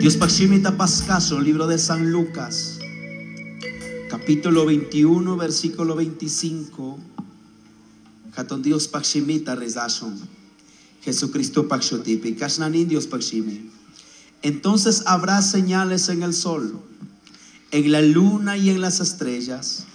Dios Shimita Pascaso, libro de San Lucas, capítulo 21, versículo 25. Hatun Dios Pakshimita rezashun. Jesucristo Pakshutipi. Kashnanin Dios Pakshimi. Entonces habrá señales en el sol, en la luna y en las estrellas,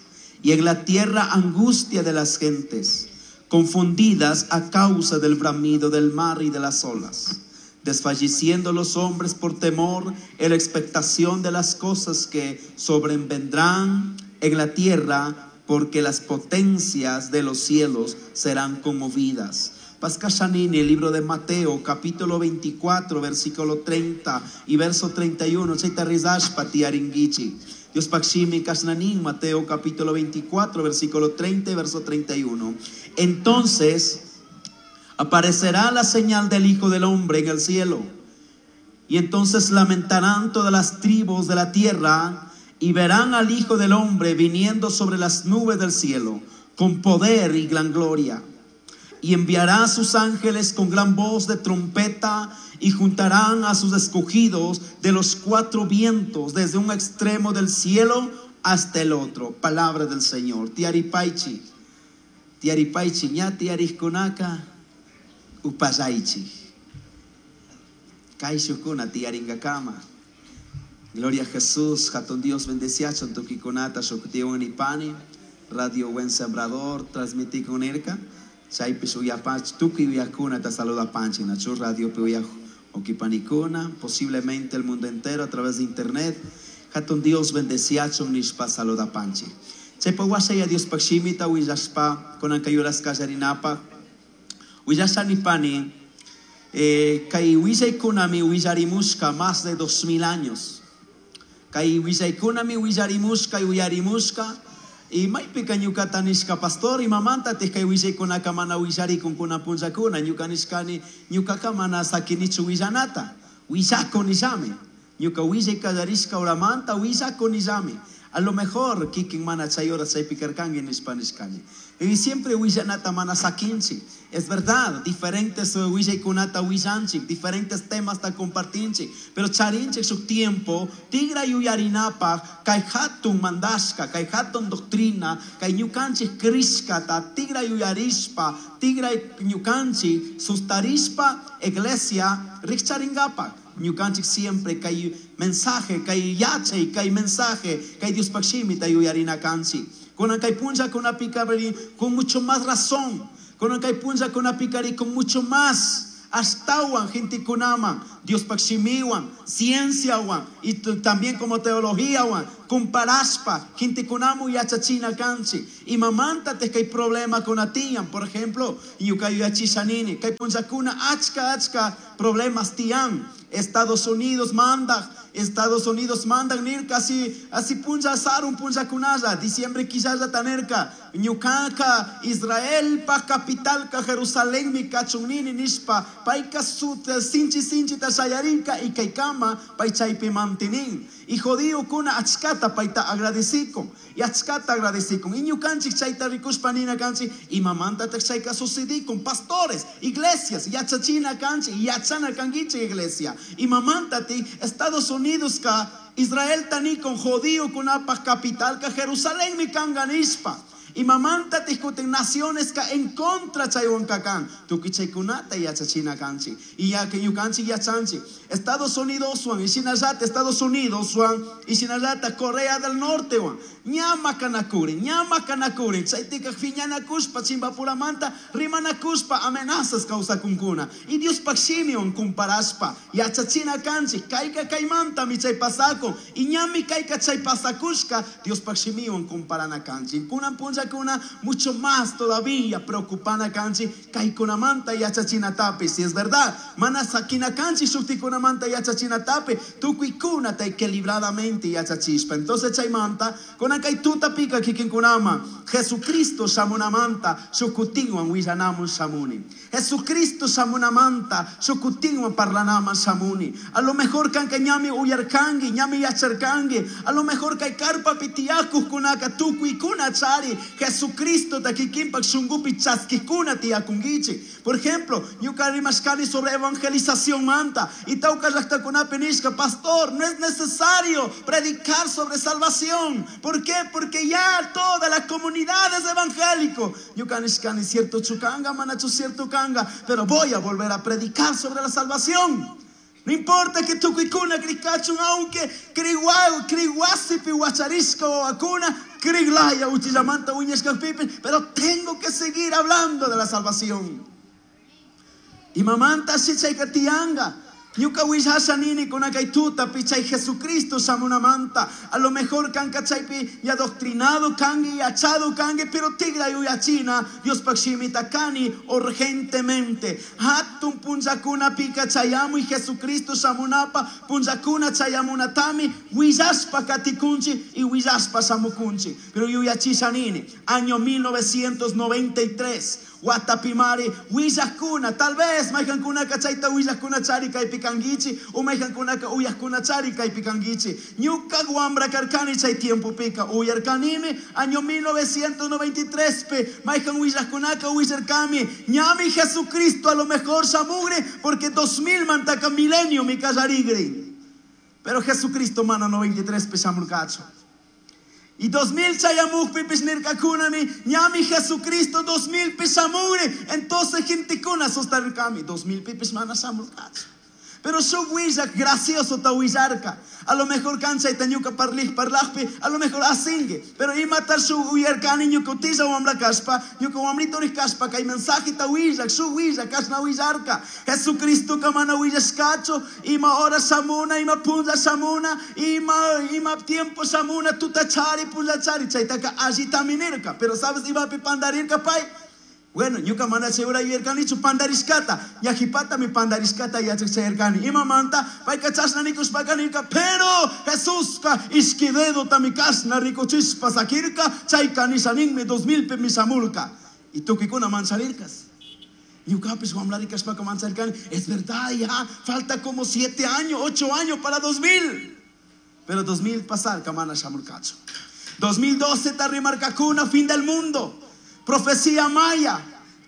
y en la tierra angustia de las gentes, confundidas a causa del bramido del mar y de las olas, desfalleciendo los hombres por temor en la expectación de las cosas que sobrevendrán en la tierra, porque las potencias de los cielos serán conmovidas. Pascashanini, el libro de Mateo, capítulo 24, versículo 30 y verso 31. Chaita rizashpa tiaringichi. Dios pakshimi kasnanin, Mateo capítulo 24, versículo 30 y verso 31. Entonces aparecerá la señal del Hijo del Hombre en el cielo. Y entonces lamentarán todas las tribus de la tierra y verán al Hijo del Hombre viniendo sobre las nubes del cielo con poder y gran gloria. Y enviará a sus ángeles con gran voz de trompeta y juntarán a sus escogidos de los cuatro vientos, desde un extremo del cielo hasta el otro. Palabra del Señor. Tiaripaichi. Tiaripaichi, ña tiariskunaka upallaichi. Kaishukuna tiaringakama. Gloria a Jesús, Hatun Dios bendeciachon tukikunata shuktiwan nipani. Radio Buen Sembrador, transmití con erka. Chaypi shuyapach, tukuy uyakuna ta saluda panchi, nachu radio pi uyaj okipanikuna, posiblemente el mundo entero a través de internet. Hatun Dios bendeciachon nishpa saluda panchi. Chaypa wasaya Dios pakshimita willashpa kunankayuras kallarinapa. Willashanipani, kay willaykunami willarimushka más de 2000 años. Kay willaykunami willarimushka y uyarimushka. Y maypika ñukata nishka pastor y mamanta kay willaykunaka mana willarikun kuna punllakuna ñuka nishkani ñukaka mana sakinichu willanata willako nishami ñuka willay kallarishka horamanta willako nishami. A lo mejor kikin mana chay hora chaypi karkanki nishpa nishkani. Y siempre willanata mana sakinchik. Es verdad, diferentes willaykunata willanchik, diferentes temas ta compartinchik, pero charinchik su tiempo, tigra yuyarinapaj, kay hatun mandashka, kay hatun doctrina, kay ñukanchik krishkata, tigra yuyarishpa, tigra ñukanchik sustarishpa, iglesia rikcharingapaj. Ñukanchik siempre kay mensaje, kay yachay, kay mensaje, kay Dios pakshimita yuyarina kanchik. Kunan kay punlla kunapikari con mucho más razón. Kunan kay punlla kunapikari con mucho más. Ashtawan gentekunaman, Dios pakshimiwan, cienciawan, y también como teologíawan, comparaspa, gentekunamu yachachina kanchi. Y mamanta te que hay problema con atian, por ejemplo, ñuka yachichanini, kay punllakuna achka achka problemas tian. Estados Unidos manda, Estados Unidos mandan nirka, así, así punlla sarun punlla kunalla, diciembre quizás ya tanerka, ñukanka, Israel pa capital ka Jerusalén mi kachunini nishpa, paika sut, sinchi sinchi ta shayarinka y kaikama, pai chaypi mantinin. Y judío kuna achkata paita agradecikon, y achkata agradecikon. Y ñukanchik chayta rikushpa nina kanchik, y mamanta te chayka sucedikon, pastores, iglesias, yachachina kanchik, yachana kanguiche iglesia. Y mamanta ti, Estados Unidos ka, Israel tanikon, judío kunapa capital ka Jerusalén mi kanganispa. Y mamanta discuten naciones ka en contra chaywan kakan. Tuki chaykunata yachachina kanchi. Y ya que yukanchi yachanchi. Estados Unidos wan, y shinayata Estados Unidos wan, y shinayata Corea del Norte wan. Ñama kanakuri, ñama kanakuri. Chaytika fiñana kuspa, chimbapuramanta, rimana kuspa, amenazas causa kunkuna. Y Dios pakshimion kumparaspa. Yachachina kanchi, kaika kaimanta mi chay pasako. Y ñami kaika chay pasakushka, Dios pakshimion kumparana kanchi. Kunan puncha kuna mucho más todavía preocupana kanchi, kaikunamanta yachachina tapi. Si es verdad, mana sakina kanchi shuktikunamanta yachachina tapi, tukuikuna ta equilibradamente yachachispa. Entonces chaymanta, kuna kay tuta pika kikinkunama, Jesucristo shamunamanta, shukutinwan willanamun shamuni. Jesucristo shamunamanta, shukutinwan parlanaman shamuni. A lo mejor kanka ñami uyarkangi, ñami yacharkangi, a lo mejor kay karpa pitiakuj kunaka tukuikuna chari. Jesucristo kikinpak shunkupi chaskikuna tiyakunkichik. Por ejemplo, ñuka rimashkani sobre evangelización manta y tawka llaqtakunapi nishka, pastor, no es necesario predicar sobre salvación. ¿Por qué? Porque ya toda la comunidad es evangélico. Ñuka nishkani cierto chukanga, manachu cierto kanga, pero voy a volver a predicar sobre la salvación. No importa que tukuykuna krikachun, aunque kriwasipi wacharishka wawakuna, kriglaya uchillamanta wiñashkakpipish, pero tengo que seguir hablando de la salvación. Imamanta chayka tiyanga. Ñuka willasha nini kunakay tutapi chay Jesucristo shamunamanta. A lo mejor kanka chaypi ya adoctrinado kangi, yachado kangi, pero tigra yuyachina, Diospak shimita kani urgentemente. Hatun punllakuna pika chayamuy Jesucristo shamunapa, punllakuna chayamunatami, willashpa katikunchi y willashpa shamukunchi. Pero yuyachisha nini, año 1993, Watapimari, willakuna, tal vez mayqankunaka chayta willakuna chari kaypi kankichi, o mayqankunaka uyakuna chari kaypi kankichi. Ñuka wambra karkani chay tiempopika, uyarkanimi, año 1993 pe, mayqan willakunaka willarkami, ñami Jesucristo a lo mejor shamugre, porque 2000 mantaka milenio mi kallarigre. Pero Jesucristo mana 93 pe shamurkachu. Y 2000 chayamukpipis nirkakunami, ñami Jesucristo 2000 pi shamugre, entonces gentekuna sustarkami, 2000 pipis mana shamurkachu. Pero shuk willak gracioso ta willarka. A lo mejor cancha y ñuka parlij parlajpi, a lo mejor asingue. Pero imatar shuk uyarkani ñuka utilla wambra kashpa, ñuka wambrito kashpa, kay mensaje ta willak, shuk willak, kashna willarka. Jesucristo kamana willashkachu, ima hora shamuna, ima punlla shamuna, ima tiempo shamuna, tuta chari, punlla chari, chaytaka allitami nirka. Pero sabes imapi pandarirka pay? Bueno, ñuka mana chay ura yuyarkanichu pandarishkata, ñajipata mi pandarishkata yachak chayarkani. Imamanta, payka chashna nikushpaka nirka, pero Jesuska ishki dedota mi kashna rikuchishpa sakirka, chayka nisha ninmi 2000 pi mi shamurka. Y tukuykuna mancharirkas. Ñukapish wambrarikashpaka mancharkani, es verdad, ya falta como 7 años, 8 años para 2000. Pero 2000 pasarka mana shamurkachu. 2012 tarrimarkakuna, fin del mundo. Profecía maya,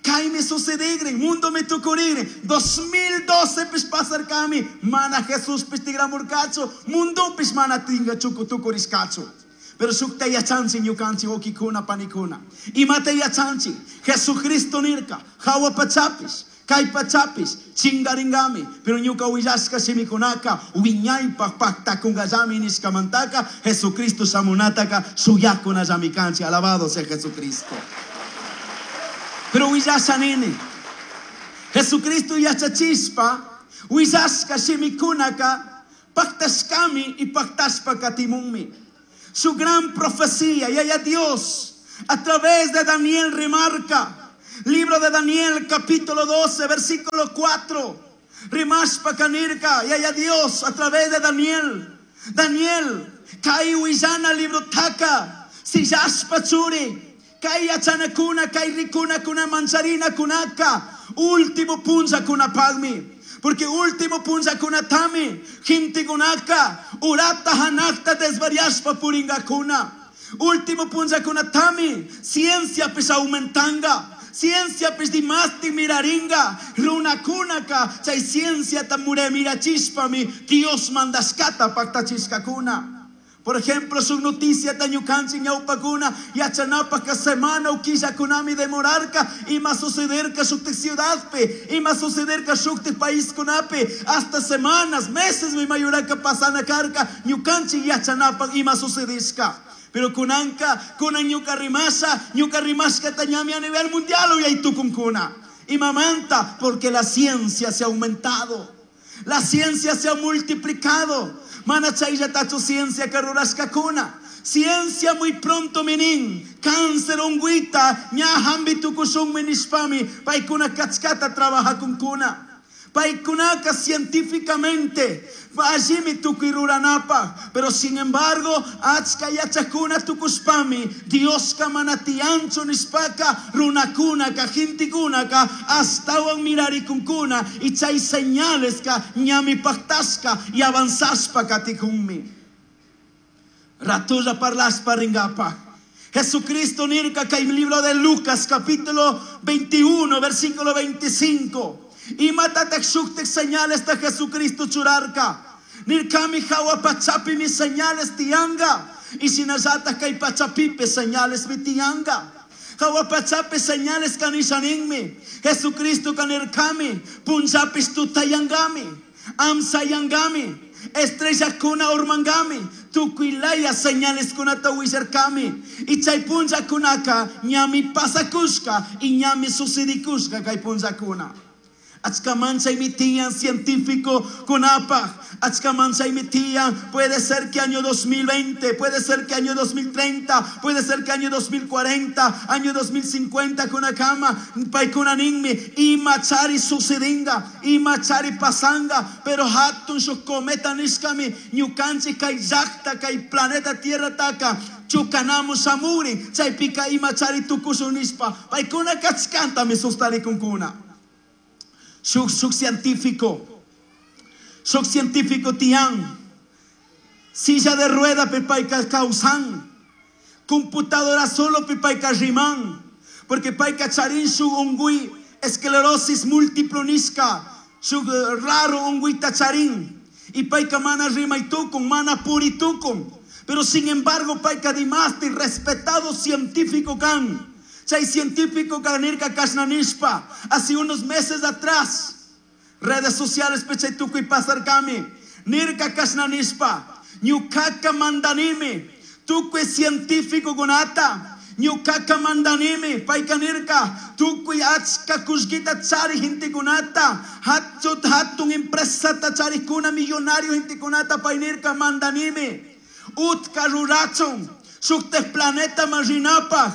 kaymi sucedigre, mundo mi tukurigre. 2012 pis pasarkami, mana Jesús pis tigramurkachu, mundo pis mana tinga chuku tukurishkachu. Pero shukta yachanchi ñukanchi wawkikuna panikuna. Imata yachanchi, Jesucristo nirka, hawa pachapis, kay pachapis, chingaringami. Pero ñuka willashka shimikunaka, wiñaypaj paktakungallami nishkamantaka, Jesucristo shamunataka, shuyakunallami kanchi. Alabado sea Jesucristo. Pero willasha nini, Jesucristo yachachispa, willashka shimikunaka, paktashkami y paktashpa katimunmi. Su gran profecía, y allá Dios, a través de Daniel remarca, libro de Daniel, capítulo 12, versículo 4, rimashpa kanirka, y allá Dios, a través de Daniel, Daniel, kay willana libro taka, sillashpa churi, kay yachanakuna, kay rikuna, kuna mancharina, kunaka, último punza kunapagmi. Porque último punza kunatami, gente kunaka, urata hanakta desvariashpa puringakuna. Último punza kunatami, ciencia pis aumentanga. Ciencia pis dimasti miraringa, runa kunaka, chay ciencia tamure mirachispami, Dios mandaskata pactachiskakuna. Por ejemplo, su noticia tañukanchi ñaupakuna, yachanapa ka semana ukilla kunami demorarka, ima sucederka shuktik ciudadpe, ima sucederka shuktik país kunape, hasta semanas, meses mi mayuraka pasana karka, ñukanchi yachanapa ima sucedishka. Pero kunanka, kunan ñuka rimasa, ñuka rimashka tañami a nivel mundial uyaytukunkuna. Imamanta, porque la ciencia se ha aumentado. La ciencia se ha multiplicado. Mana chayllatachu ciencia karurashkakuna. Ciencia muy pronto minin. Cáncer unguita. Ña hambi tukushun minishpami. Paykuna kachkata trabaja kunkuna. Paykunaka científicamente. Allimi tukuy ruranapa. Pero sin embargo, achka yachakuna tukushpami. Dioska mana tiyanchu nishpaka, runakunaka, gentekunaka, astawan mirarikunkuna. Y chay señales ka ñami paktashka y avanzashpa katikunmi. Ratulla parlaspa ringapa. Jesucristo nirka kay libro de Lucas capítulo 21 versículo 25. Imatatak shuktik señales ta Jesucristo churarka. Nirkami hawa pachapi mi señales tianga. Y shinallata kay pachapipi señales mi tianga. Hawa pachapi señales kanishaninmi. Jesucristo kanirkami. Punchapis tutayangami. Amsayangami. Estrella kuna urmangami. Tukuylaya señales kunata willarkami. Y chay punllakunaka ñami pasakushka y ñami sucedikushka kay punllakuna. Achka manchaymi tiyan científico kunapaj. Achka manchaymi tiyan. Puede ser que año 2020, puede ser que año 2030, puede ser que año 2040, año 2050 kunakama, paykunaninmi, imachari sucedinga, imachari pasanga, pero hatun shuk cometa nishkami, ñukanchik kay llakta, kay planeta Tierra taka, chukanamu shamuri, chaypika imachari tukushun nishpa, paykuna kachkantami sustarikunkuna. Shuk científico tian, silla de rueda pipayka kawsan, computadora solo pipayka riman, porque payka charin shuk ungui, esclerosis múltiplo nishka, shuk raro unguita charin, y payka mana rimaytukun, mana puritukun, pero sin embargo payka dimasti respetado científico kan. Chay científico kanirka kashnanishpa, hace unos meses atrás, redes sociales pechay tukuy pasarkami, nirka kashnanishpa, ñukaka mandanimi, tukuy científico kunata, ñukaka mandanimi, payka nirka, tukuy achka kullkita chari gentekunata, hatut hatun empresata charikuna millonario gentekunata, pay nirka mandanimi, utka rurachun, shuktek planeta marinapaj,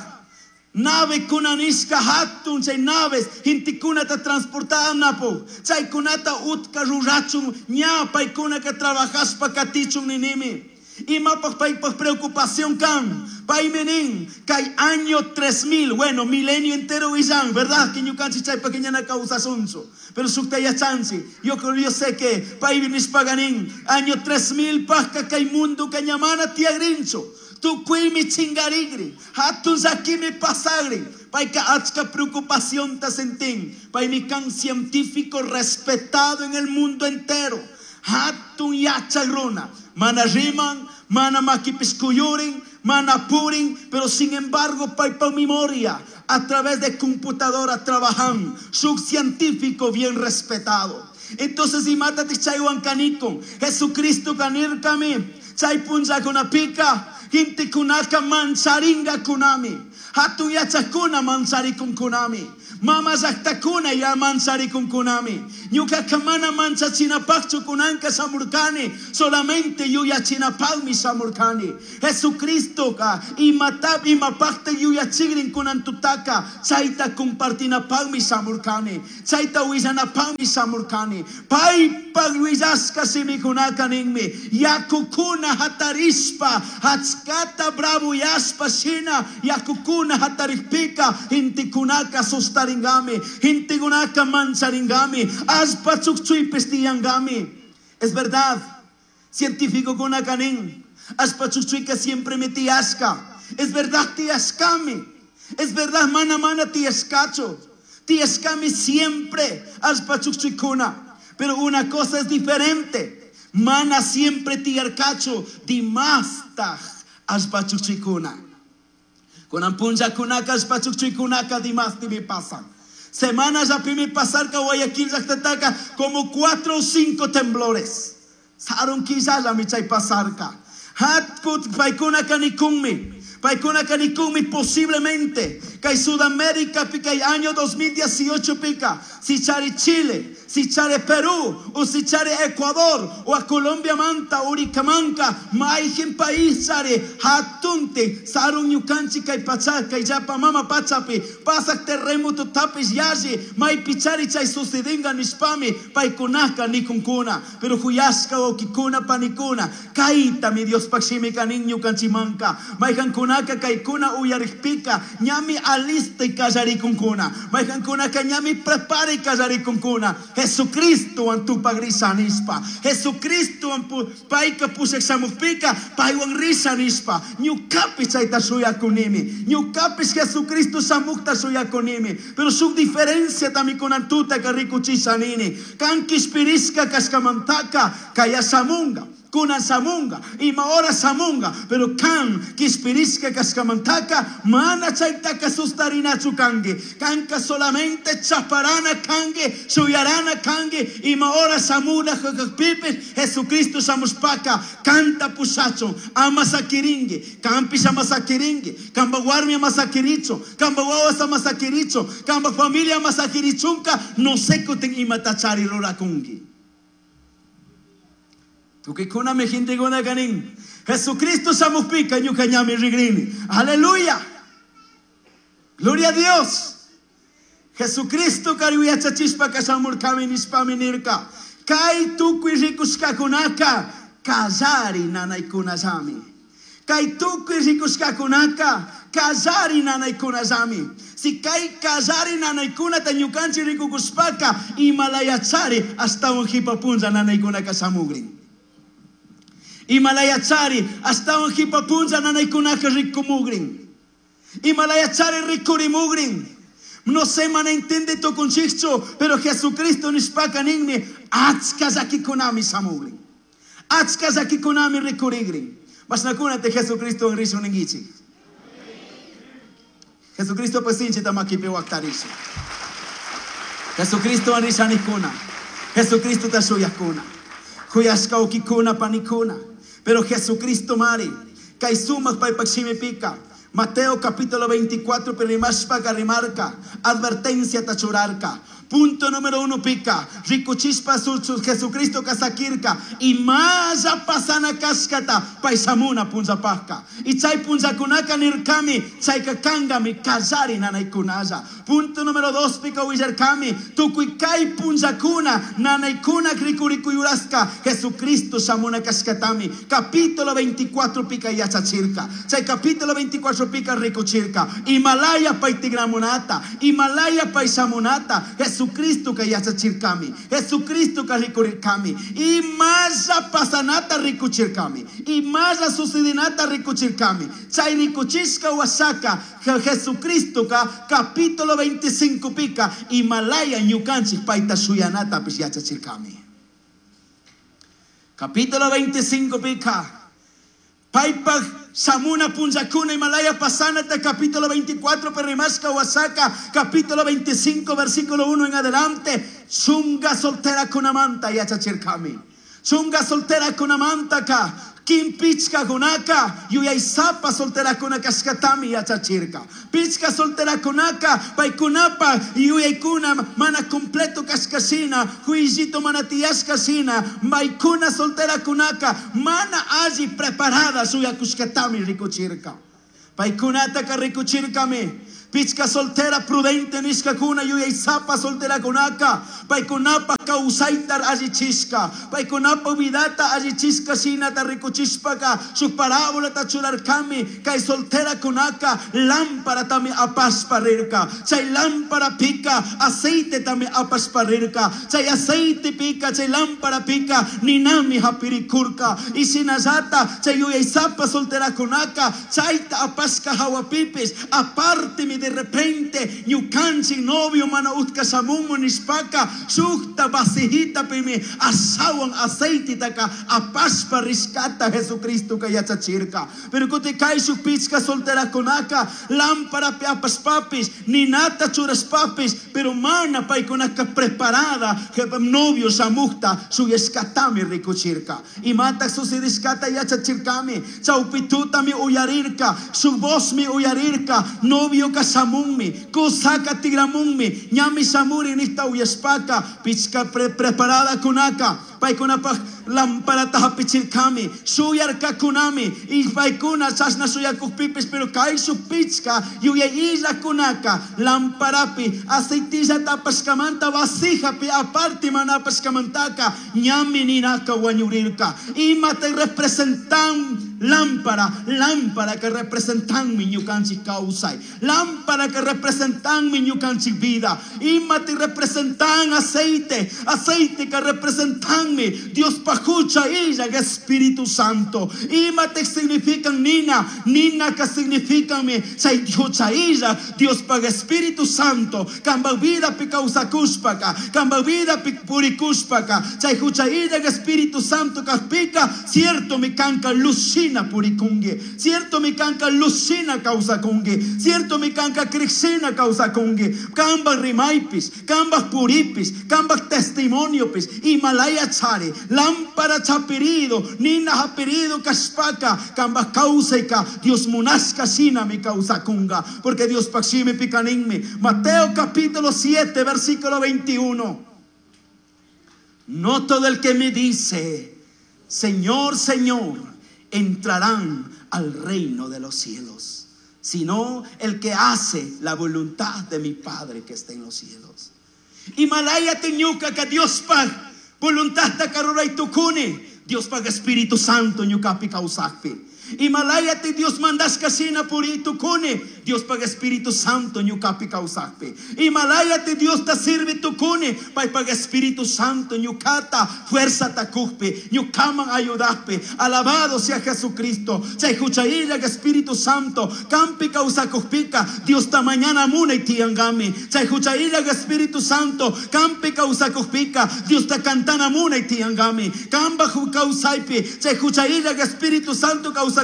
nave kunanishka hatun chay naves gentekunata transportanapo chaykunata utka rurachun ña paykunaka trabajashpa katichun ninimi. Imapaj paypaj preocupación kan paymi nin kay año 3000, bueno, milenio entero willan, verdad que ñukanchik chaypaj ñana kawsasunchu, pero shukta yachanchik, yo creo, yo sé que paymi nishpaga nin año 3000 pajka kay mundo ñamana tiyagrinchu, tukuymi chingarigri, hatun llakimi pasagri, payka achka preocupación ta sentin, paymi kan científico respetado en el mundo entero, hatun yachak runa, mana riman, mana makipis kuyurin, mana purin, pero sin embargo paypa memoria a través de computadora trabajan, shuk científico bien respetado. Entonces imatatij chaywan kanikun, Jesucristo kanirkami, chay punllakunapika, gentekunaka mancharinga kunami, hatun yachakuna mancharikun kunami, mama llaktakuna ya mancharikun kunami, ñukaka mana manchachinapajchu kunanka shamurkani, solamente yuyachinapajmi shamurkani. Jesucristoka imatap imapajta yuyachigrin kunantutaka, chayta compartinapajmi shamurkani, chayta willanapajmi shamurkani. Paypaj willashka shimikunaka ninmi, yakukuna hatarishpa, achkata bravoyashpa shina, yakukuna hatarikpika, gentekunaka sustaringami, gentekunaka mancharingami, allpa chukchuypis tiyangami. Es verdad, científico kunaka nin, allpa chukchuyka siempre me tiyashka. Es verdad, tiyashkami. Es verdad, mana mana tiyashkachu. Tiyashkami siempre, allpa chukchuykuna. Pero una cosa es diferente. Mana siempre tiyarkachu, dimastaj allpa chukchuykuna. Kunan punllakunaka allpa chukchuykunaka dimasti mi pasan. Semana ya pimi pasarka Guayaquil llaktataka como 4 o 5 temblores. Sarun quillalla mi chay pasarka. Hatkut paykuna kanikunmi. Paykuna kanikunmi posiblemente kay Sudamérica pica año 2018 pica. Si chari Chile, si chari Perú, o si chari Ecuador, o a Colombia manta, Uricamanca, maijen país chari, hatunte, sarun ñukanchi kay pacha, kay yapa mama pachapi, pasak terremoto tapis yashi, mai pichari chay sucedinga nishpami, paykunaka nikunkuna, pero huyashka okikuna panikuna, kaita mi Dios pakshimi kanin ñukanchimanka, maijankunaka Maijankunaka kaykuna uyarikpika ñami alistay kallarikunkuna. Maijankunaka ñami preparay kallarikunkuna. Jesucristowan tupagrisha nishpa. Jesucristowan payka pushak shamukpika paywan risha nishpa. Ñukapish chayta shuyakunimi. Ñukapish Jesucristo shamukta shuyakunimi. Pero shuk diferenciatami kunan tutaka rikuchisha nini. Kan kishpirishka kashkamantaka kaya shamunga. Kunan shamunga, ima hora shamunga, pero kan kishpirishka kashkamantaka mana chaytaka sustarinachu kanki. Kanka solamente chaparana kanki, shuyarana kanki, ima hora shamuna kakpipish Jesucristo shamushpaka kanta pushachun, ama sakirinki, kanpish ama sakirinki, kanpa warmi ama sakirichun, kanpa wawas ama sakirichun, kanpa familia ama sakirichunka, no sé kutin imata chari rurakunki. Tukuykuna gentekuna kanin. Jesucristo shamukpika ñuka ñami rigrini. Aleluya. Gloria a Dios. Jesucristo kari yachachishpaka shamurkami nishpami nirka. Kay tukuy rikushkakunaka kallari nanaykunallami. Kay tukuy rikushkakunaka kallari nanaykunallami. Si kay kallari nanaykunata ñukanchik rikukushpaka imalayachari ashtawan jipa punlla nanaykunaka shamugrin. Imalayachari ashtawan jipa punlla nanaykunaka rikumugrin. Imalayachari rikurimugrin. No sé, mana entiende tukunchikchu, pero Jesucristo nishpaka ninmi achka llakikunami shamugrin. Achka llakikunami rikurigrin. Mashnakunata Jesucristo rishun ninkichik. Jesucristo pues sinchita makipi waktarisha. Jesucristo rishanikuna. Jesucristo tashuyakuna. Kuyashka ukikuna panikuna. Pero Jesucristo mari. Kay sumak paypak shimipika. Mateo capítulo 24, perimashpaka rimarka. Advertencia tachurarka. Punto número 1 pica. Rikuchishpa Jesucristo kasakirka. Imalla pasana kashkata paysamuna punzapajka. Y chay punzakunaka nirkami. Chayka kangami kallari nanaykunalla. Punto número 2 pica willarkami. Tukuy kay punzakuna nanaykuna rikurikuyuraska. Jesucristo shamuna kashkatami. Capítulo 24 pica yachachirka. Chay capítulo 24 pica rikuchirka. Himalaya paytigramunata. Himalaya paysamunata. Jesucristo ka yachachirkami. Jesucristo ka rikurirkami. Imalla pasanata rikuchirkami. Imalla sucedinata rikuchirkami. Chay rikuchishka wasaka Jesucristo ka capítulo 25 pica Himalaya ñukanchik payta shuyanata pish yachachirkami. Capítulo 25 pica. Paypak shamuna punllakuna Himalaya pasanata capítulo 24 perrimashka wasaka capítulo 25 versículo 1 en adelante. Chunga soltera kunamanta yachachirkami. Chunga soltera kunamanta ka. Kim pichka kunaka, yuyaysapa soltera kunaka shkatami yachachirka. Pichka soltera kunaka, paykunapa yuyaykuna mana completo kashkashina, juillito mana tiyashkashina, maykuna soltera kunaka, mana alli preparada suyakushkatami rikuchirka. Paykunataka rikuchirkami. Pichka soltera prudente nishkakuna yuyaysapa soltera kunaka. Paykunapa kawsaytar allichishka. Paykunapa vidata allichishka shinata rikuchishpaka. Shuk parábolata churarkami. Kay soltera kunaka lámpara tami apashpa rirka. Chay lámpara pika aceite tami apashpa rirka. Chay aceite pika chay lámpara pika ninami hapirikurka. Y shinallata chay yuyaysapa soltera kunaka. Chayta apashka hawapipis. Aparte mi de repente ñukanchik novio mana utka shamunmu nishpaka shukta vasijita pimi ashawan aceititaka apashpa rishkata Jesucristo ka yachachirka. Pero kuti kay shuk pichka solterakunaka lámpara pi apashpapis ninata churashpapis pero mana paykunaka preparada novio shamukta shuyashkatami rikuchirka. Imata sucedishkata yachachirkami chawpitutami uyarirka shuk vozmi uyarirka novio ka shamunmi, kusaka tigramunmi, ñami shamuri nihta uyashpaka, pichka preparada kunaka, Paicunapaj lamparata hapichirkami, shuyarkakunami, y paicuna chashna shuyakukpipis, pero kayshuj pichka yuyay illakunaka lamparapi aceitillata apashkamanta vasijapi aparte mana apashkamantaka ñami ninaka wañurirka. Imata representan lámpara? Lámpara que representan mi ñukanchik kawsay. Lámpara que representan mi ñukanchik vida. Imata representan aceite? Aceite que representan mi Dios pajucha illa Espíritu Santo. Imata significan nina? Nina que significan mi chay jucha illa Dios paga Espíritu Santo. Kamba vida pi kawsakushpaka, kamba vida pi purikushpaka, chay jucha illa Espíritu Santo kajpika, cierto mi kanka lucina purikungi, cierto mi kanka lucina kawsakungi, cierto mi kanka krixina kawsakungi, kamba rimaypis, kamba puripis, kamba testimoniopis, Himalaya chari, lámpara chapirido, nina hapirido kashpaka, kamba kawsayka, Dios munashka shina mi kawsakunga, porque Dios pakshimi pikaninmi. Mateo capítulo 7, versículo 21. No todo el que me dice, Señor, Señor, entrarán al reino de los cielos, sino el que hace la voluntad de mi Padre que está en los cielos. Himalaya teñuka que Dios pag voluntad ta karuray tukuni, Dios pag Espíritu Santo ñukapi kawsakpi. Himalaya te Dios mandaska shina puri tukuni, Dios pag Espíritu Santo ñukapi kawsakpi. Himalaya te Dios ta sirve tukuni, pay pag Espíritu Santo ñukata fuerza takukpi, ñukaman ayudakpi. Alabado sea Jesucristo. Chay huchayilla Espíritu Santo kampi kawsakukpika, Dios ta mañana munay tiyangami. Chay huchayilla Espíritu Santo kampi kawsakukpika, Dios ta cantana munay tiyangami. Kamba kawsaypi, chay huchayilla Espíritu Santo kawsakukpika,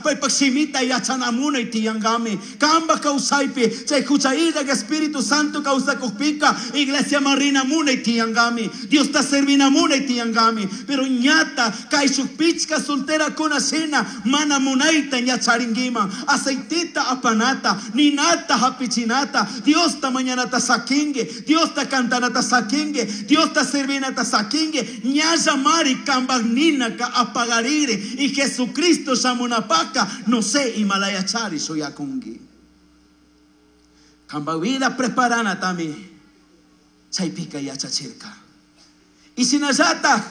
paypak shimita yachana munay tiyangami. Kamba kawsaypi, chay huchayilla Espíritu Santo kawsakukpika, iglesia marina munay tiyangami. Dios ta servina munay tiyangami. Pero ñata kayshuk pichka soltera kuna shina mana munayta ñacharinguiman. Aceitita apanata, ninata hapichinata, Dios ta mañanata sakingue, Dios ta cantanata sakingue, Dios ta servinata sakingue, ñalla mari kambak nina ka apagarire y Jesucristo shamunapaka, no sé Himalaya chari soyakungi. Kamba vida preparana tami, chaypika yachachirka. Y sinallata,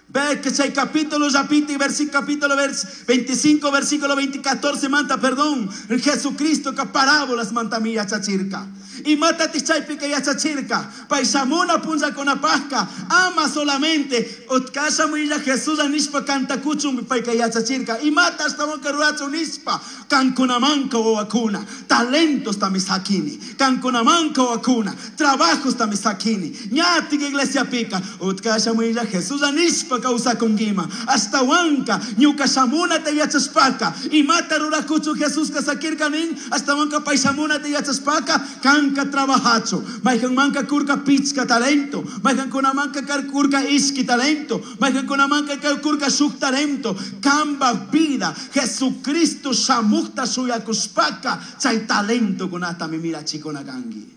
ve que chay capítulo yapiti, versículo, capítulo 25, versículo 14, manta, perdón, Jesucristo que parábolas manta mi yachachirka. Y mata chaypika yachachirka, paisamuna punza con apasca, ama solamente, otkasha muilla Jesús anispa cantacuchum paika yachachirka, y mata hasta un nispa, cancunamanca o vacuna, talentos tamisakini, cancunamanca o vacuna, trabajos tamisakini, ñati iglesia pica, otkasha muilla Jesús anispa causa conguima, hasta huanca, ñuka shamuna te yachaspaka, y mata ruracuchu Jesús kasakirkanin, hasta huanca paisamuna te yachaspaka, can trabajacho, maijan manca kurka pichka talento, maijan kuna manca kurka iski talento, maijan kuna manca kurka shuk talento, kamba vida, Jesucristo shamukta suyakuspaka, chay talento kunata mi mira chikona kangi.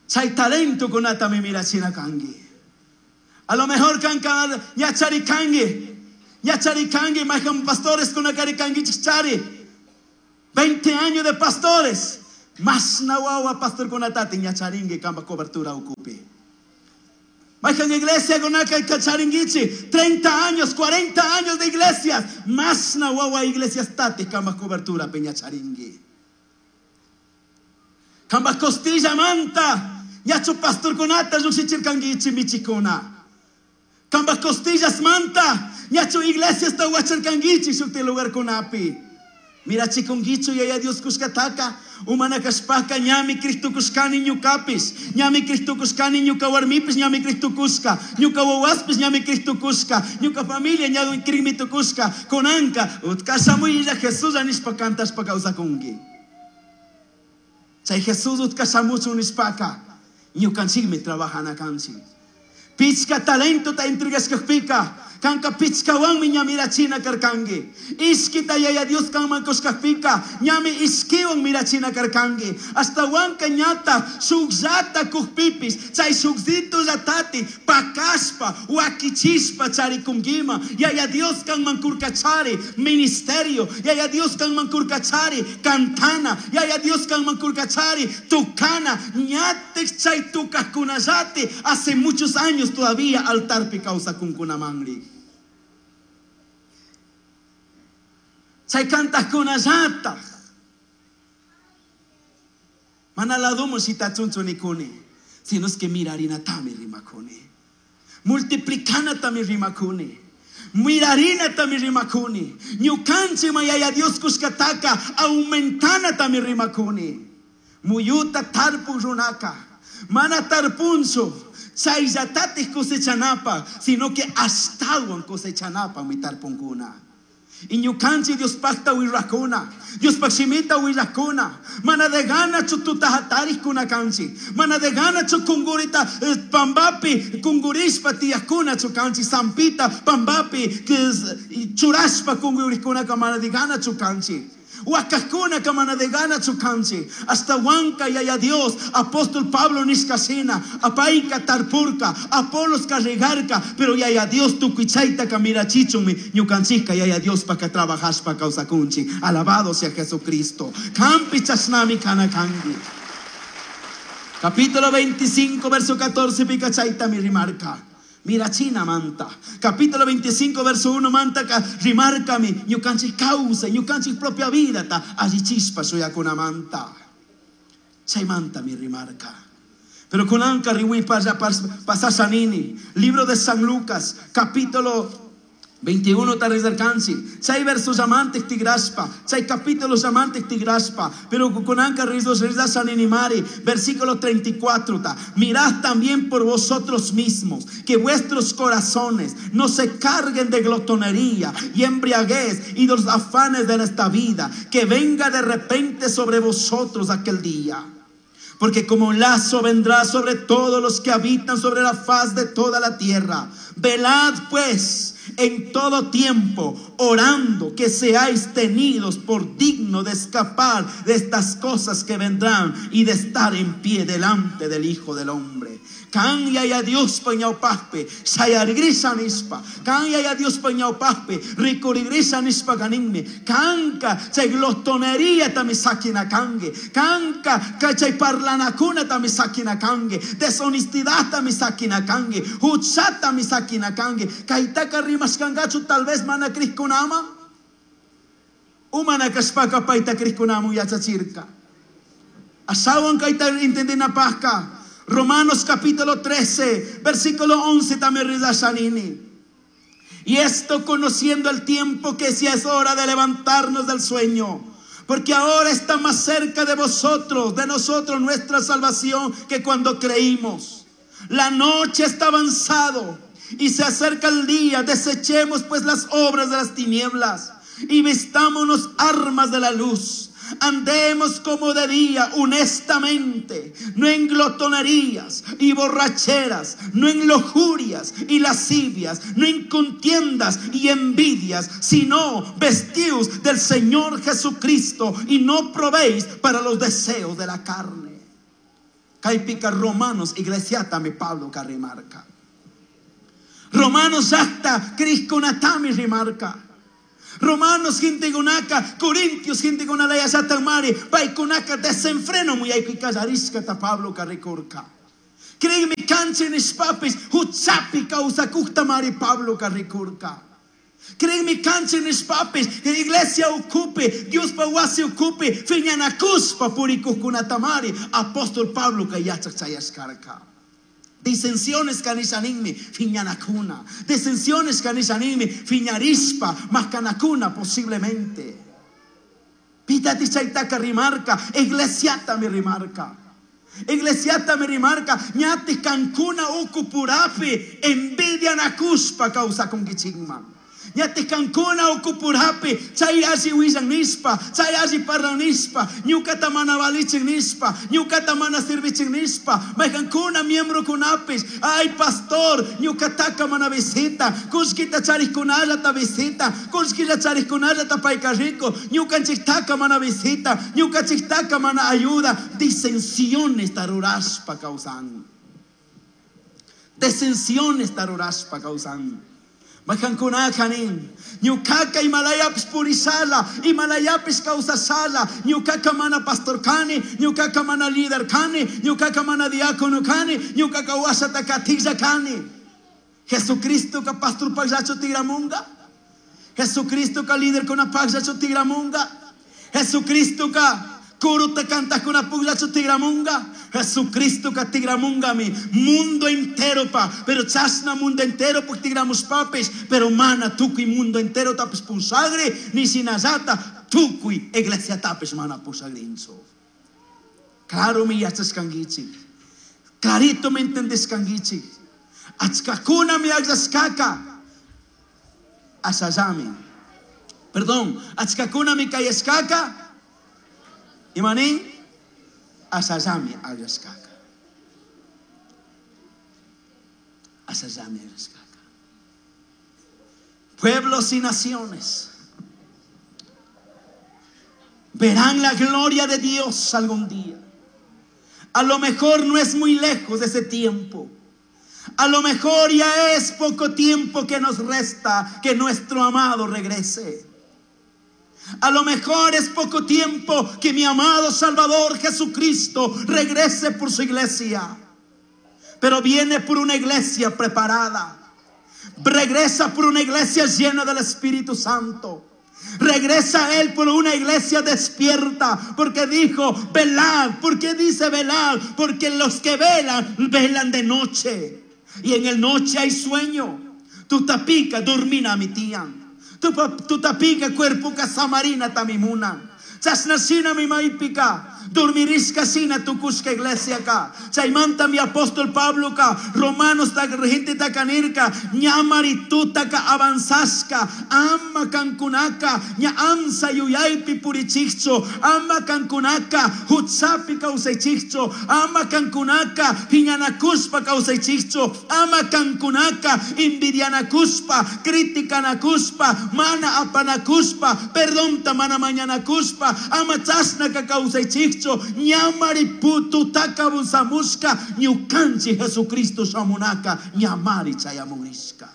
Chay talento kunata mi mira china kangi. A lo mejor kanka ñachari kangi, ñachari kangi, maijan pastores kunakari kangi chichari. 20 años de pastores. Más nahuahua pastor con atati ñacharingue kamba cobertura ocupe. Maijan iglesia con acá y cacharinguichi. 30 años, 40 años de iglesias. Más nahuahua iglesias tati kamba cobertura peñacharingue. Kamba costilla manta. Ñacho pastor con ata yuxichircanguichi michicona. Kamba costillas manta. Ñacho iglesias tahuacharcanguichi shukti lugar con api. Mira chikunguicho y allá Dios kushkataka, umana kashpaka, ñami Cristo kushkani ñukapis, ñami Cristo kushkani ñuka warmipis, ñami Cristo kushka, ñuka wawaspis, ñami Cristo kushka, ñuka familia ñadu krimito kushka, konanka, utkashamuilla Jesús anispa cantaspa kawsakunki. Chay Jesús utkashamuchu nispaka, ñukanchikmi trabajana kanchik. Pichka talento ta entregaskakpika, Kanka pichkawanmi ña mirachina karkanki. Ishkita Yaya Dios kanman kushkakpika ñami ishkiwan mirachina karkanki. Ashtawanka ñata shukllata kukpipis chay shukzitullatati pakashpa wakichishpa charikunkima. Yaya Dios kanman kurkachari ministerio. Yaya Dios kanman kurkachari cantana. Yaya Dios kanman kurkachari tukana. Ñatik chay tukajkunallati hace muchos años todavía altarpi kawsakunkunamanri. Chay kantaqkunallataq. Mana ladumu shitachunchu nikuni, sino es que mirarinatami rimakuni. Multiplicanatami rimakuni. Mirarinatami rimakuni. Ñukanchik Yaya Dios kushkataka aumentanatami rimakuni. Muyuta tarpuk runaka. Mana tarpunchu chayllatatik cosechanapa, sino que ashtawan cosechanapa mi tarpunkuna. Y ñukanchik Dios pacta wirrakuna, Dios shimita wirrakuna, mana de gana chututa hatarikuna kanchi, mana de gana chu kungurita pambapi kungurishpa tiyakuna chu kanchi, sampita pambapi churashpa kungurikuna ka mana de gana chu kanchi. Huacacuna kamana de gana chukanchi. Hasta Huanca yaya Dios, apóstol Pablo nishkashina, apaika tarpurka, Apolos carregarka, pero yaya Dios tukuichaita kamira chichumi, ñukanchika yaya Dios pa que trabajas pa causa kunchi. Alabado sea Jesucristo. Kampi chasnami kanakangi. Capítulo 25, verso 14, picachaita mi rimarca. Mira china manta. Capítulo 25, verso 1 manta ka rimarca mi ñukanchik causa, ñukanchik propia vida ta allí chispa suyakuna manta. Chay manta mi rimarca. Pero kunanka riwi pasasanini. Libro de San Lucas, capítulo 21 tarizarkansi. Chay versos amantes tigraspa. Chay capítulos amantes tigraspa. Pero kunanka rizos rizasaninimari. Versículo 34 ta. Mirad también por vosotros mismos que vuestros corazones no se carguen de glotonería y embriaguez y de los afanes de esta vida, que venga de repente sobre vosotros aquel día. Porque como un lazo vendrá sobre todos los que habitan sobre la faz de toda la tierra. Velad pues en todo tiempo, orando que seáis tenidos por digno de escapar de estas cosas que vendrán y de estar en pie delante del Hijo del Hombre. Kan yaya Dios pañaupaspe, sayarigrisa nispa. Kan yaya Dios pañaupaspe, ricurigrisa nispa ganinme. Kanka chay glotonería tamisakina kange. Kanka chay parlanacuna tamisakina kange. Deshonestidad tamisakina kange. Huchata misakina kange. Kaitaka rimaskangachu tal vez mana kriskunama. Umana kaspaka paita kriskunamu yachachirka. Asawan kaita entendina pasca. Romanos capítulo 13, versículo 11 también rizashanini. Y esto conociendo el tiempo que si es hora de levantarnos del sueño, porque ahora está más cerca de vosotros, de nosotros nuestra salvación que cuando creímos. La noche está avanzado y se acerca el día. Desechemos pues las obras de las tinieblas y vistámonos armas de la luz. Andemos como de día, honestamente, no en glotonerías y borracheras, no en lujurias y lascivias, no en contiendas y envidias, sino vestidos del Señor Jesucristo y no probéis para los deseos de la carne. Caipica Romanos, iglesiata mi Pablo carrimarca. Romanos hasta Crisconatami rimarca. Romanos gente gunaka, Corintios gente gunalaya satamari, paikunaka desenfreno muy aykuikallarisca ta Pablo carricorca. Créeme canchenes papis, huchapi causa mari Pablo carricorca. Créeme canchenes papis, que iglesia ocupe, Dios pa wasi ocupe, fiñanacuspa purikukunatamari, apóstol Pablo kayachak. Disensiones kanisaninmi, fiñanacuna. Disensiones kanisaninmi, fiñarispa, mascanacuna posiblemente. Pitati chaitaka rimarca, iglesiata mi rimarca. Iglesiata mi rimarca, ñati cancuna ukupurapi, envidia nakuspa causa con kichigma. Ñatik kankuna ukupurapi chay alli willan nishpa, chay alli parlan nishpa, ñukata mana valichin nishpa, ñukata mana servichin nishpa, mayqankuna miembrokunapis, ay pastor, ñukataka mana visita, kullkita charikkunallata visita, kullkilla charikkunallata payka rico, ñukanchiktaka mana visita, ñukanchiktaka mana ayuda, disensiones rurashpa kawsan. Disensiones rurashpa kawsan. Mayqankunaka nin, ñukaka imalayapis purishala, imalayapis kawsashala, ñukaka mana pastor kani, ñukaka mana líder kani, ñukaka mana diácono kani, ñukaka washata katilla kani. Jesucristo ka pastor pagllachu tigramunga. Jesucristo ka líder kuna pagllachu tigramunga. Jesucristo ka kuruta kantakuna pugllachu tigramunga. Jesucristo ka tigramungami mundo entero pa, pero chasna mundo entero puk tigramus papis, pero mana tukuy mundo entero tapis pusagri, ni sinallata tukuy iglesia tapis mana pusagrinchu. Claro mi yachaskankichik, clarito me entendeskankichik. Achkakuna mi agllaskaka asallami. Perdón, achkakuna mi kayashkaka imanin asallami agllaskaka. Asallami agllaskaka. Pueblos y naciones verán la gloria de Dios algún día. A lo mejor no es muy lejos de ese tiempo. A lo mejor ya es poco tiempo que nos resta que nuestro amado regrese. A lo mejor es poco tiempo que mi amado Salvador Jesucristo regrese por su iglesia. Pero viene por una iglesia preparada. Regresa por una iglesia llena del Espíritu Santo. Regresa Él por una iglesia despierta, porque dijo, velad. ¿Por qué dice velad? Porque los que velan, velan de noche. Y en el noche hay sueño. Tu tapica dormina mi tía. Tu tapica cuerpo casamarina tamimuna. Chasnasina mi maipika. Dormirisca sina tukushka iglesia ka. Chaymanta mi apóstol Pablo ka. Romanos ta gente takanirka. Ñamari tutaka avanzasca. Ama kankunaka. Ña amsa yuyaypi purichicho. Ama kankunaka. Hutsapi kawsaychicho. Ama kankunaka. Piñanakuspa kawsaychicho. Ama kankunaka. Envidianakuspa. Criticanakuspa. Mana apanakuspa. Perdonta mana mañanakuspa. Ama chasnaka kawsaychicho. Ñamari putu takabusamushka ñukanchi Jesucristo shamunaka ñamari chayamunishka.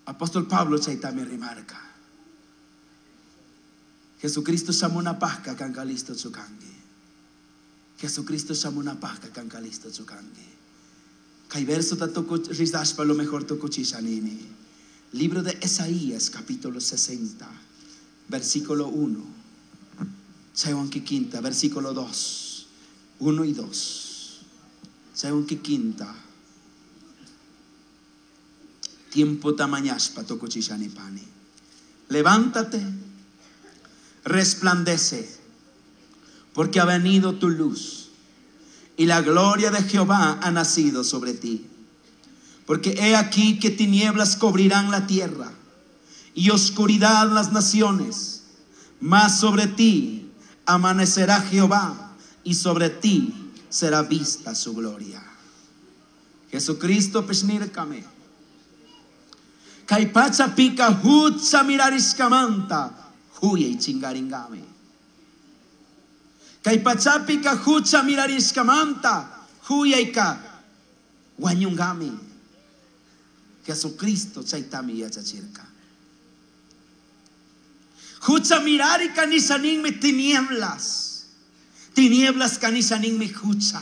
Apóstol Pablo chaytami rimarka. Jesucristo shamunapajka kanka listo chukanki. Jesucristo shamunapajka kanka listo chukanki. Kay verso ta rizashpa lo mejor tukuchisha nini. Libro de Isaías capítulo 60, versículo 1. Chaywanki quinta, versículo 2, 1 y 2. Chaywanki quinta. Tiempo tamañaspa tokuchishani pani. Levántate, resplandece, porque ha venido tu luz y la gloria de Jehová ha nacido sobre ti. Porque he aquí que tinieblas cubrirán la tierra y oscuridad las naciones, mas sobre ti amanecerá Jehová y sobre ti será vista su gloria. Jesucristo pesnirkame. Kay pacha pika hutsa mirariskamanta huyay chingaringame. Kay pacha pika hutsa mirariskamanta huyayka wañungame. Jesucristo chaytami yachachirka. Hucha mirari kanisaninmi tinieblas. Tinieblas kanisaninmi hucha.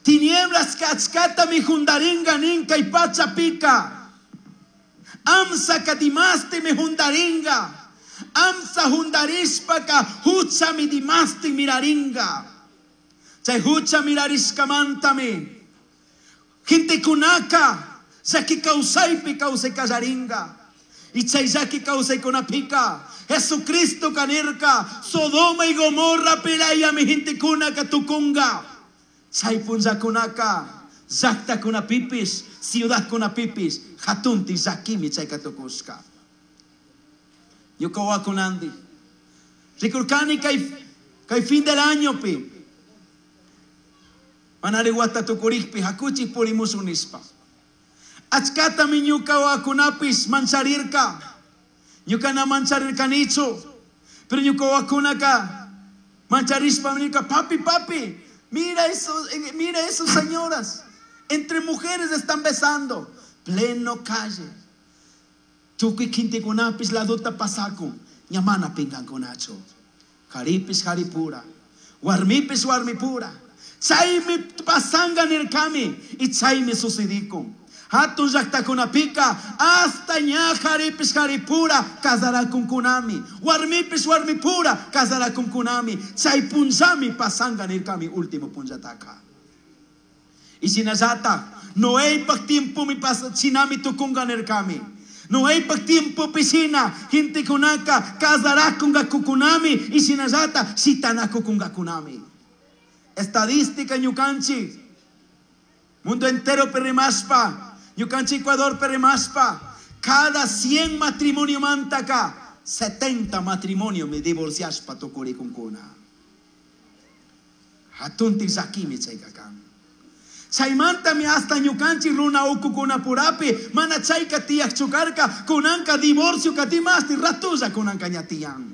Tinieblas kachkata mi jundaringa ninka y pacha pica. Amsa kadimaste mi jundaringa. Amsa jundarishpaka hucha mi dimaste miraringa. Chay hucha mirariskamantami. Gente kunaka. Saki kausaipi kausai kallaringa. Y chay llaki kawsaykunapika Jesucristo kanirka Sodoma y Gomorra pilaya mi gente kunaka tukunga. Chay punllakunaka Llaqtakunapipis, ciudadkunapipis, hatunti llakimi chayka tukushka. Ñuka wawakunandi. Rikurkani kay fin del añopi. Manari wata tukurikpi hakuchik purimushun nishpa. Achkatami ñuka wawakunapis mancharirka. Ñuka na mancharirkanichu. Pero ñuka wawakunaka mancharishpa nirka, papi, papi, mira eso, mira esas señoras. Entre mujeres están besando. Pleno calle. Tukuy kintikunapis ladota pasakun. Ña mana pinkankunachu. Jaripis jaripura. Warmipis warmipura. Chaymi pasanga nirkami. Y chaymi sucedikun. Hatun llaqtakunapika hasta ña jaripis jaripura casarakunkunami. Warmipis warmipura casarakunkunami. Chay punllami pasanga nirkami último punllataka. Y shinallata, Noépak tiempomi pasa, shinami tukunga nirkami. Noépak tiempopi shina, gentekunaka casarakungakukunami y shinallata shitanakukungakunami. Estadística ñukanchik, mundo entero perrimaspa, ñukanchik Ecuador perrimaspa, cada 100 matrimonio mantaka, 70 matrimonio me divorciaspa tukurikunkuna. Hatunti llakimi chayka kan. Chaymantami hasta ñukanchik runa ukukunapurapi mana chayka tiyaqchu karka, kunanka divorcio katimasti ratulla kunanka ña tiyan.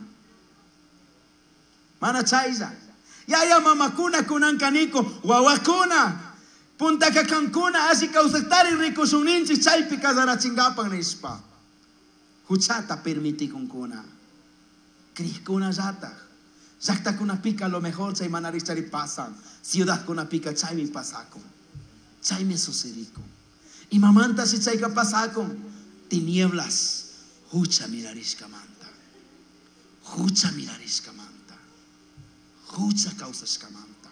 Mana chaylla. Yaya mamakuna kunanka niko, wawakuna, puntaka kankuna alli kawsaktari rikushunninchik chaypi casarachinkapak nishpa. Huchata permitikunkuna. Krikkunallataj. Llaqtakunapika lo mejor chay mana richari pasan. Ciudadkunapika chaymi pasakun. Chaymi sucedikun. Imamanta si chayka pasakun? Tinieblas. Hucha mirarishkamanta. Hucha mirarishkamanta. Hucha kawsashkamanta.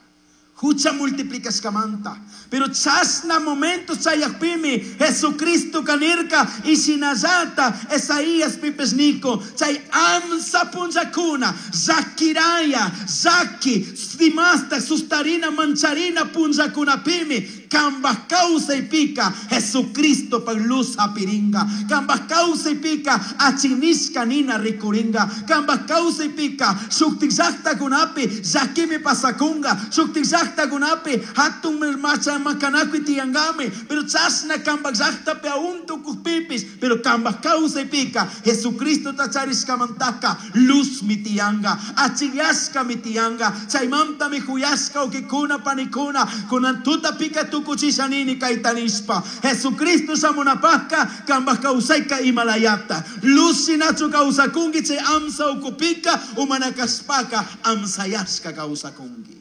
Hucha multiplicashkamanta. Pero chasna momento chayakpimi Jesucristo kanirka y shinallata Esaías pipes niko chay amsa punllakuna zakiraya zaki dimasta sustarina mancharina punllakunapimi kambaj kawsaypika Jesucristo pa luz apiringa kambaj kawsaypika achinishka nina rikuringa kambaj kawsaypika shuktik llaqtakunapi llakimi pasakunga shuktik llaqtakunapi hatun macha makanakuy tiyangami pero chasna kambaj llaqtapi aún tukukpipis pero kambaj kawsaypika Jesucristo tacharishkamantaka luz mi tiyanga achilyashka mi tiyanga chaymantami huyashka ukikuna panikuna kunan tuta pika tukuchishanini kaytanispa Jesucristo shamunapajka kambaj kawsayka imalayata luz shinachu kawsakunki chay amsa ukupika umanakaspaka amsayashka kawsakunki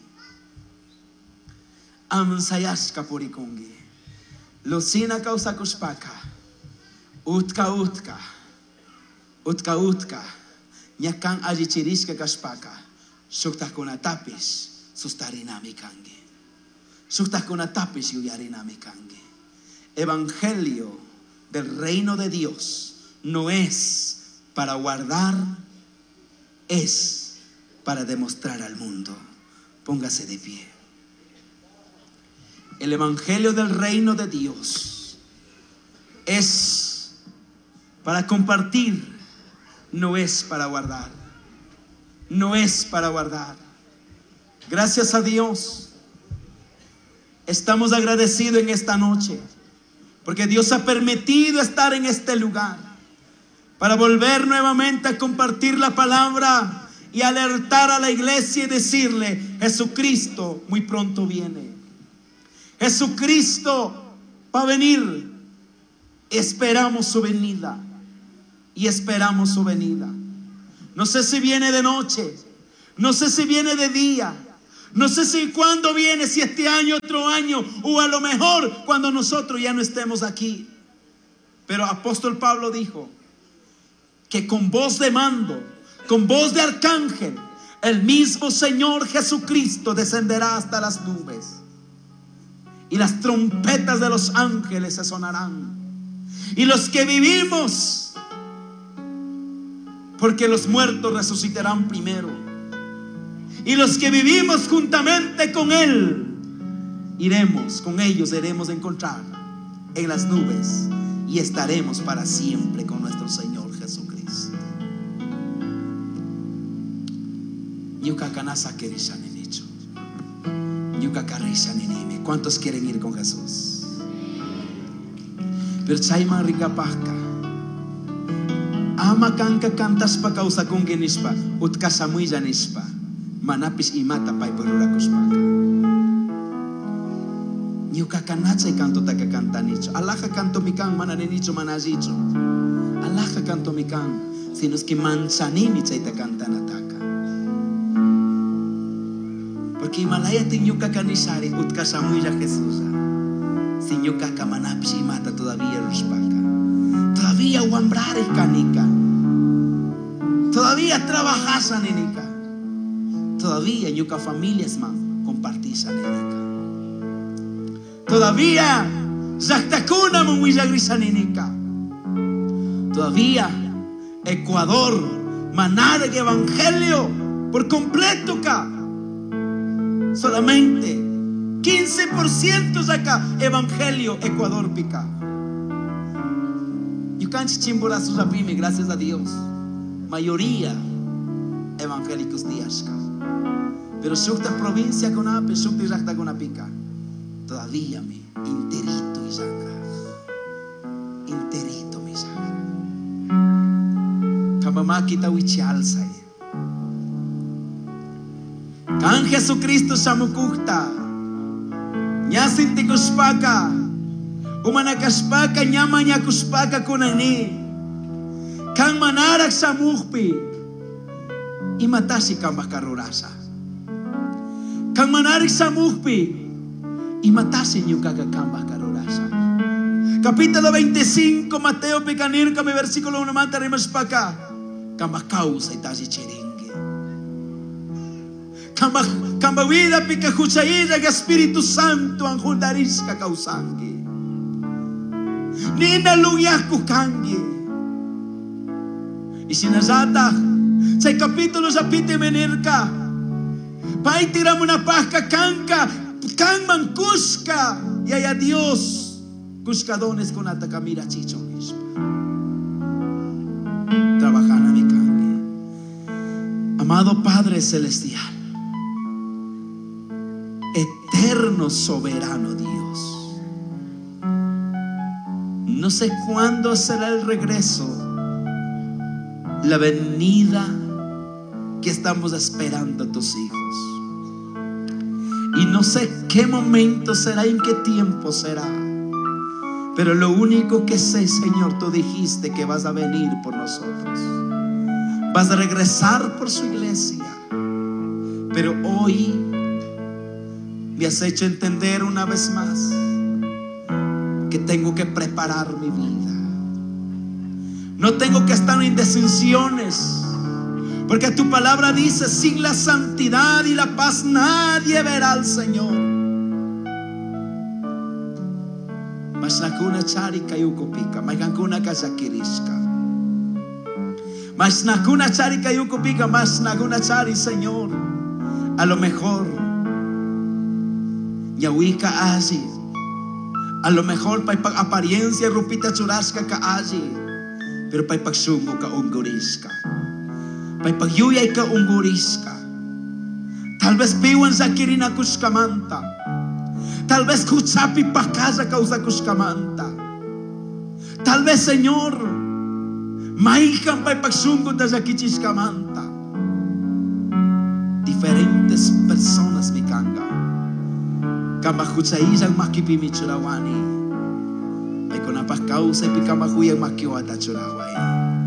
amsayashka purikunki Lucina kawsakushpaka utka utka utka utka ñakan allichirishka kashpaka shuktakunatapis sustarinami kanki shuktakunatapis yuyarinami kanki. Evangelio del reino de Dios no es para guardar, es para demostrar al mundo. Póngase de pie. El evangelio del reino de Dios es para compartir, no es para guardar. No es para guardar. Gracias a Dios. Estamos agradecidos en esta noche porque Dios ha permitido estar en este lugar para volver nuevamente a compartir la palabra y alertar a la iglesia y decirle: Jesucristo muy pronto viene. Jesucristo va a venir. Esperamos su venida. Y esperamos su venida. No sé si viene de noche, no sé si viene de día, no sé si cuándo viene, si este año, otro año, o a lo mejor cuando nosotros ya no estemos aquí. Pero apóstol Pablo dijo que con voz de mando, con voz de arcángel, el mismo Señor Jesucristo descenderá hasta las nubes. Y las trompetas de los ángeles se sonarán. Y los que vivimos, porque los muertos resucitarán primero. Y los que vivimos juntamente con Él, Iremos con ellos, iremos a encontrar en las nubes y estaremos para siempre con nuestro Señor Jesucristo. ¿Cuántos quieren ir con Jesús? Pero chayman ringapajka ama kanka cantaspa kawsakunki nishpa utkashamuylla nishpa manapish imata paypaj rurakushpaka. Ñukaka na chay cantotaka cantanichu. Alaja cantomi kan, mana ninichu, mana allichu. Alaja cantomi kan, sino es que manchanimi chayta cantanataka. Porque Himalaya ñukaka nishari utkashamuylla Jesús. Si ñukaka manapish imata todavía rushpaka. Todavía wambrare kanika. Todavía trabajasa ninika. Todavía ñuka familias man compartisa ninika. Todavía llaqtakuna munwillagrisa ninika. Todavía Ecuador manara evangelio por completo ka. Solamente 15% saca evangelio Ecuador pica. Ñukanchik Chimborazo rapimi, gracias a Dios. Mayoría evangélicos tiyashka. Pero shukta provincia kunapi, shukta llaqta kunapika. Todavía mi interito y sangre. Interito mi sangre. Kamamakita wichalsay. Kan Jesucristo shamukukta. Ñasintikushpaka. Umanakashpaka ñamañakushpaka kunani. Kan manarak shamukpi. Imatashi kambaj rurasha. Kan manarak shamukpi. Imatashi ñukaka kambaj rurasha. Capítulo 25, Mateo pikanirka mi versículo 1 manta rimashpaka. Kambaj kawsay tashi chiringi. Kamba vida pika huchailla Espíritu Santo anjundarishka kawsanki. Nina lunyaku kangi. Y shinallata, chay capítulo yapite menirka. Pay tiramuna pasca kanka, kanman kushka. Y haya Dios, kushka dones con atakamira chicho nishpa. Trabajana mi kangi. Amado Padre Celestial, eterno soberano Dios, no sé cuándo será el regreso, la venida que estamos esperando a tus hijos. Y no sé qué momento será, en qué tiempo será. Pero lo único que sé, Señor, tú dijiste que vas a venir por nosotros. Vas a regresar por su iglesia. Pero hoy me has hecho entender una vez más que tengo que preparar mi vida. No tengo que estar en indecisiones, porque tu palabra dice: sin la santidad y la paz nadie verá al Señor. Masnakuna chari kayukupika, maykankuna kashakirishka. Masnakuna chari kayukupika, masnakuna chari, Señor. A lo mejor ñawika alli. A lo mejor paypak apariencia rupita churashka ka alli, pero paypak shungu ka ungurishka, paypak yuyay ka ungurishka. Tal vez piwan llakirinakushkamanta, tal vez huchapi pakalla kawsakushkamanta, tal vez, Señor, maykan paypak shunguta llakichishkamanta. Diferentes personas mi kanga. Kamba huchaillan makipi churawani. Paykunapaj kawsaypi kamahuyan makiwata churaway.